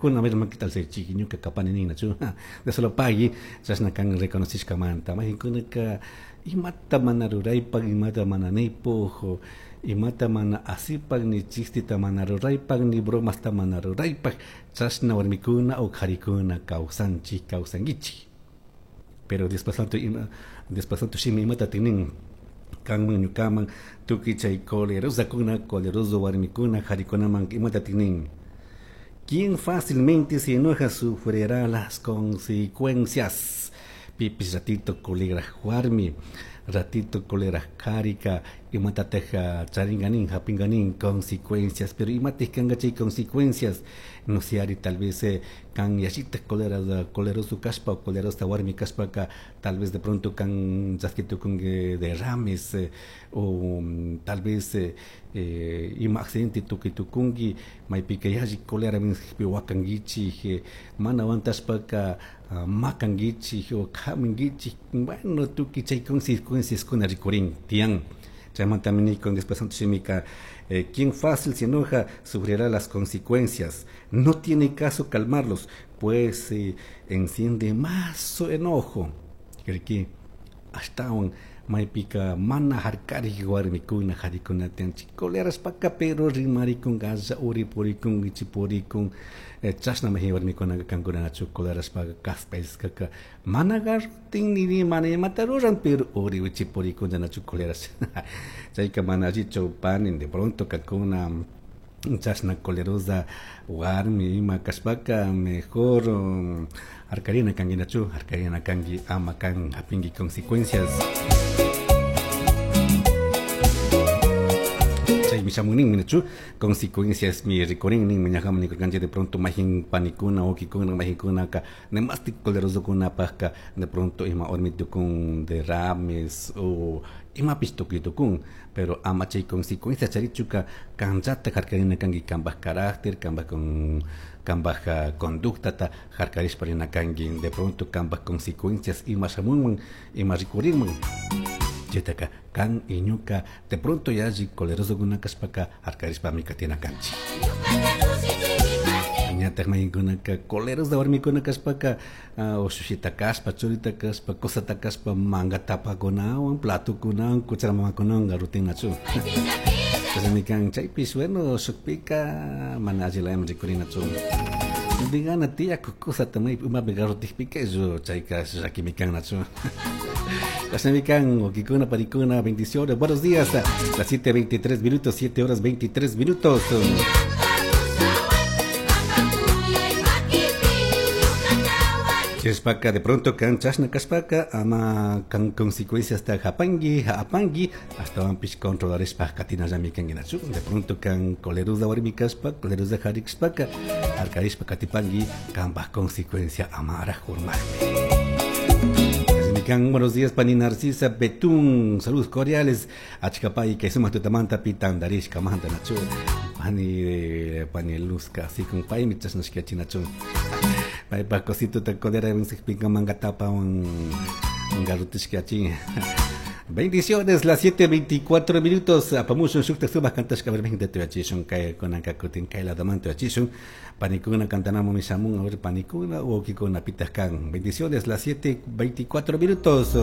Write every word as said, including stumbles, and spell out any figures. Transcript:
Kuna ver ¿qué tal se ñuka kapani ninachu? De solo pagui chashna kan reconocishkamanta mayqinkunaka imata mana ruraypak, imata mana niypuk, imata mana asipak, ni chistita mana ruraypak, ni bromasta mana ruraypak, chashna warmikuna o qharikuna kawsanchik, kawsankichik. Pero Dios santo ima, Dios santo shimi imata tinin kanman ñukaman tukuy chay colerosakuna, coleroso warmikuna, qharikunaman imata tinin. Quien fácilmente se enoja sufrirá las consecuencias. Pipis ratito cólera warmi, ratito cólera qharika, imatataj charinganin, hapinganin consecuencias, pero imatij kanga chay consecuencias, no sé, ari tal vez eh, kan yallita cólera, coleroso kashpa o colerosa warmi kashpaka, tal vez de pronto kan chaskitukunki derrames eh, o um, tal vez eh, eh, ima accidente tukuy tukunki, maypika yalli cólera wakankichik, eh, mana aguantashpaka uh, makankichik o kaminkichik, bueno, tukuy chay consecuencias kuna rikurin tiyan. Chaymantami nikun después santo shimika, eh, quien fácil se enoja sufrirá las consecuencias. No tiene caso calmarlos, pues se enciende más su enojo. Cree ashtawan maypika mana harkarik warmikuna qarikuna tiyanchik colerashpaka, pero rimarikun galla uri purikun wichi purikun, eh, chashna mayjin warmikuna kankunachu colerashpaka kaspayskaka mana garrutin ni mana imata ruran, pero uri wichi purikun nachu coleras. Chayka mana allichu pani, de pronto kankuna chashna colerosa warmi ima kashpaka mejor um, harkarina kanki nachu, harkarina kanki ama kan hapinki consecuencias. Chaymi shamunin nachu consecuencias mi rikurin nin ñajaman nikurkanchik de pronto mayjin panikuna wawkikuna mayjinkunaka demastik colerosokunapajka de pronto ima warmi tukun derrames o imapish tukuy tukun, pero ama chay consecuencias charichuka kanllata harkarina kanki kanpaj carácter, kanpaj con kanpaj conductata harkarishpa rina kanki, de pronto kanpaj consecuencias ima shamunman ima rikurinman. Chaytaka kan y ñuka de pronto yalli colerosokuna kashpaka harkarishpami katina kanchik. Ñataj mayqinkunaka colerosa warmikuna kashpaka uh, ushushita kashpa, churita kashpa, cosata kashpa manga tapakunawan, platokunawan, cuchara mamakunawan garrutinachu. Chashnami kan chaypish, bueno, shukpika mana allilayman rikurinachu. Digana tiyakuk cosata maypi imapi garrutikpika chayka llakimi kan nachu. Chashnami kan wawkikuna, panikuna, bendiciones, buenos días, las siete veintitrés minutos, siete horas veintitrés minutos. Chishpaka de pronto kan chashna kashpaka ama kan consecuencias ta hapangi apangi hasta wanpish controlarishpa katinallami kanki nachu. De pronto kan colerosa warmi kashpa, colerosa qhari kashpaka harkarishpa katipangi kanpaj consecuencia amaraj urmajpi. Kan, buenos días, pani Narcisa Betún, saludos cordiales. Achkapay, que sumas tutamanta pitandarishka manta nachu. Pani de pani Luzca, así con pay michasnashka chinachu. Pay pa cosito ta codera pinka manga tapa un garrutishka chin. Bendiciones, las siete veinticuatro minutos. Apamushun shukta sumas kantashka vermejin de tuyachishun kay konanka kutin kay la daman tuyachishun. Panikuna kantanamo mishamun, a ver panikuna o kikuna pitaskan. Bendiciones, las siete veinticuatro minutos.